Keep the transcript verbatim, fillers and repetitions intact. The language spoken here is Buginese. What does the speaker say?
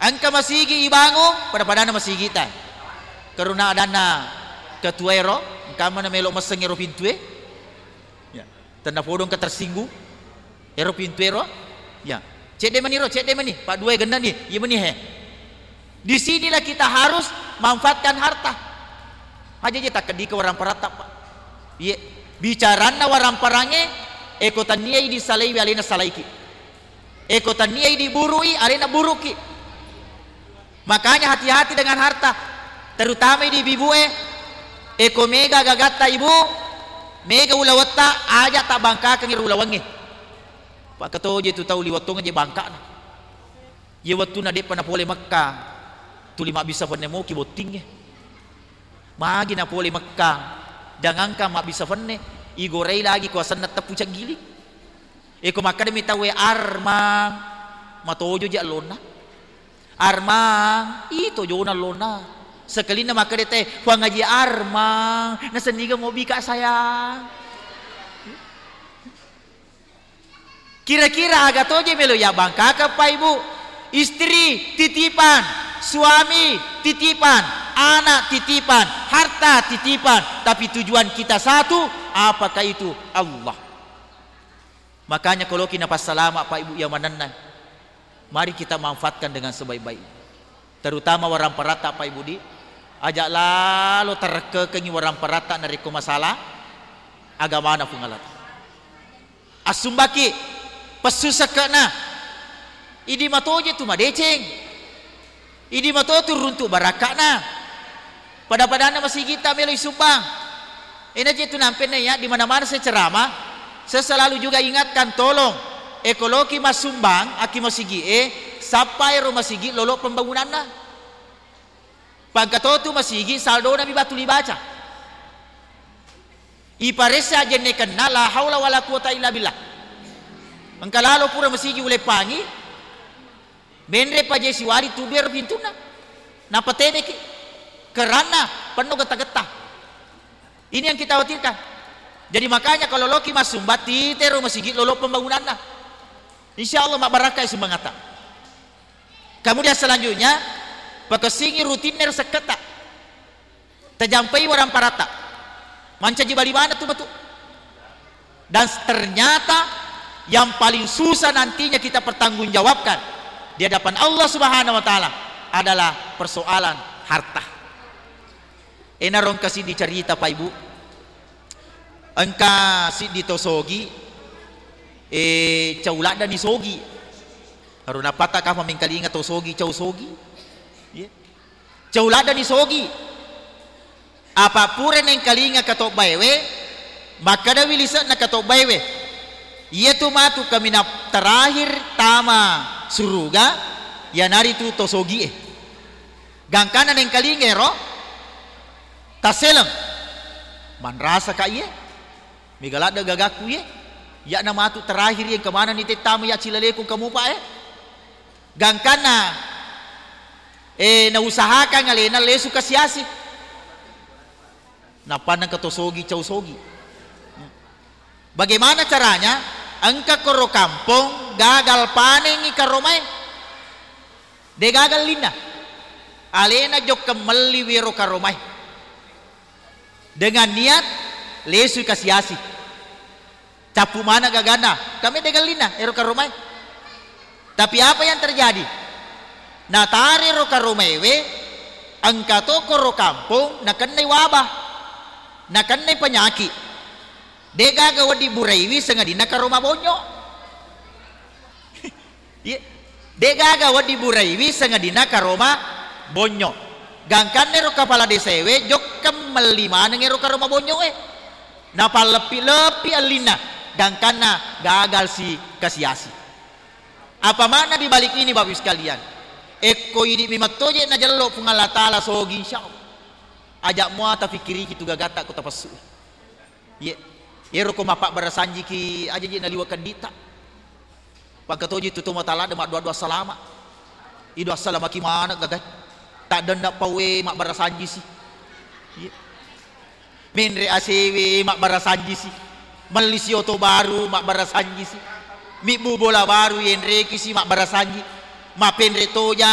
Engka masigi ibangung, pada-padanna masigita. Karena adanna ketua ero, engka mana melo messeng ero pintue. Ya. Tenna podo engka tersinggung. Ero pintu ero. Ya. Cedde mani ro, cedde mani. Pak dua genna ni. Iya mani he. Di sinilah kita harus manfaatkan harta. Aja je takkeddi ke warang paratta, Pak. Iya. Bicaranna warang parange, eko tania idi salaiwi alena salaiki. Eko tania idi burui alena buruki. Makanya hati-hati dengan harta, terutama di ibu-ibu e. Eko mega gagatta ibu, mega ulawetta, aja tabbangkakeng ro ulawengnge. Pakkatoje tu tau liwettong je bangkana. Ye wettunna de'pa napole Mekka, tuli mabbissa fenne moki bottingnge. Magi napole Mekka, jangankan mabbissa fenne, igorei lagi ko asenna teppu caggiling. Eko makkedami tauwe, "Armang," matojo je allonna. "Armang," ih, tojona allonna. Sekelinna makkeda te, "Puang Haji Armang, nasenniga mobika sayang." Kira-kira aga toje melo ya bangkaka, Pak Ibu? Istri titipan, suami titipan, anak titipan, harta titipan, tapi tujuan kita satu, apakah itu? Allah. Makanya koloki napassalama, Pak Ibu, iya manenna, mari kita manfaatkan dengan sebaik-baik. Terutama warang paratta, Pak Ibu, di aja lalo tarekkekengi warang paratta narekko masalah agamana Puang Allah Ta'ala. Assumbaki pessu sekke'na, idi matoje tu madeceng. Idi mato tu runtu barakka'na. Pada-padanna masigitta melo isumbang. Ena je tu nampenna ya, di mana-mana saya ceramah, saya selalu juga ingatkan, tolong, ekoloki massumbang aki masigi e, sappa ero masigi lolo pembangunanna. Pangkatotu masigi saldona mi batu libaca. Iparessa ajennekenna la haula wala quwata illa billah. Engka lalo pura masigi uleppangi, Menre paje siwari tudu ero pintunna. Nappa tedeki. Keranna penno getta-getta. Ini yang kita khawatirkan. Jadi makanya kalau loki massumba, titero masigi lolo pembangunanna. Insya Allah mabbarakkai sumbangatta. Kemudian selanjutnya, pakessingi rutinna ero sekketta. Tajampai warang paratta. Mancaji bali maneng tu matu. Dan ternyata yang paling susah nantinya kita pertanggungjawabkan di hadapan Allah Subhanahu wa Ta'ala adalah persoalan harta. Enaro engka siddi carita, Pak Ibu. Engka siddi to sogi, eh, cau laddani sogi. Aro napatta kapa mengkalinga to sogi, cau sogi. Iya. Cau laddani sogi. Apa pura nengkalinga katobbaewe, makkedawi lise'na katobbaewe, "Iyatu matu kaminang terakhir tama suruga, iyanaritu to sogie." Gangkanna nengkalinga ero, tasseleng. Manrasaka iye? Mega ladde gagakku iye. Iya'na matu terakhir iye, engka manenni tettama iya cilaleku engka mupa e. Gangkanna, eh, nausahakan alena lesu kasiasi. Nappanna engka to sogi, cau sogi. Bagaimana caranya? Engka koro kampong gagal panengi karomae. De gagal linna. Alena jokkeng melli wero karomae. Dengan niat lesui kasiasi. Cappu maneng gaganna, kame de gallinna ero karomae. Tapi apa yang terjadi? Natare ro karomaewe, engka to koro kampong nakennai wabah, nakennai penyakit. De gaga wedding buraiwi sangadinna karoma bonyo. Iye. De gaga wedding buraiwi sangadinna karoma bonyo. Gangkanna ero kapala desaewe jokkeng melli maneng ero karoma bonyoe. Napalleppi-leppi ellinna, gangkanna gagal si kasiasi. Apa makna di balik ini, Bapak Ibu sekalian? Ekko idi mi mattoje najello Puang Allah Taala sogi, insya Allah. Ajak mua tafikiriki tu gagatta ko tapessu. Iye. Ero ko mappabbarasanjiki aja je naliwa kedditta. Pakkatoji tu to mataladde maddoa-doa salama. Ido assalamaki maneng gagai. Taddenna pawe mabbarasanjisi. Iye. Menre asewe mabbarasanjisi. Melli si oto baru mabbarasanjisi. Mibbu bola baru yenrekisi mabbarasanji. Mapenre toja